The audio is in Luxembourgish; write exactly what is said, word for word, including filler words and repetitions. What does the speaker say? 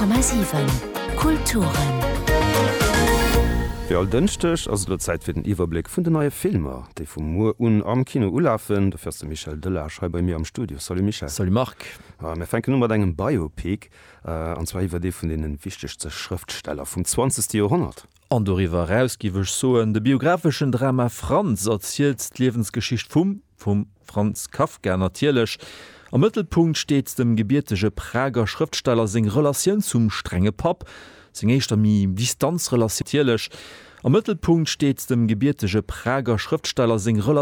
Komma siwen Kulturen. Wéi all Dënschdeg ass et elo Zäit fir den Iwwerbléck vun den neie Filmer, déi vu muer un am Kino ulafen. Dofir ass de Michel Delage hei bei mir am Studio. Salut Michel. Salut Marc. Mir fänken u mat engem Biopic, an zwar iwwer ee vun deene wichtegste Schrëftsteller vum zwanzegste Joerhonnert. An doriwwer eraus giff ech soen, de biographeschen Drama Franz erzielt d'Liewensgeschicht vum, vum Franz Kafka natierlech. Am Mëttelpunkt steet dem gebiertege Prager Schrëftsteller seng Relatioun zum strenge Papp, seng éischter méi Distanzrelatioun natierlech. Am Mëttelpunkt steet dem gebiertege Prager Schrëftsteller seng Relatioun.